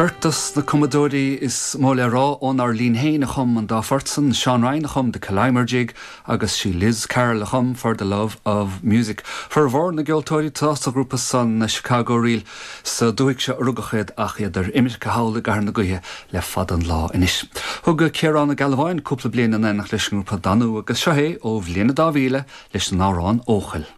Beirt dos na cumadóirí is mó le rá ónár linn féin a chum an dá phort san, Seán Ryan a chum The Killimer Jig agus sí Liz Carroll a chum For the Love of Music. Formhór na gceoltóirí atá sa ghrúpa san, na Chicago Reel, sa dúthaigh seo a rugadh iad ach iad ar imirce thall i gCathair na Gaoithe le fada an lá anois. Thug Ciarán Ó Gealbháin cúpla bliain in éineacht leis an ngrúpa Danú agus seo é ó bhliain a 2000 leis an amhrán Eochaill.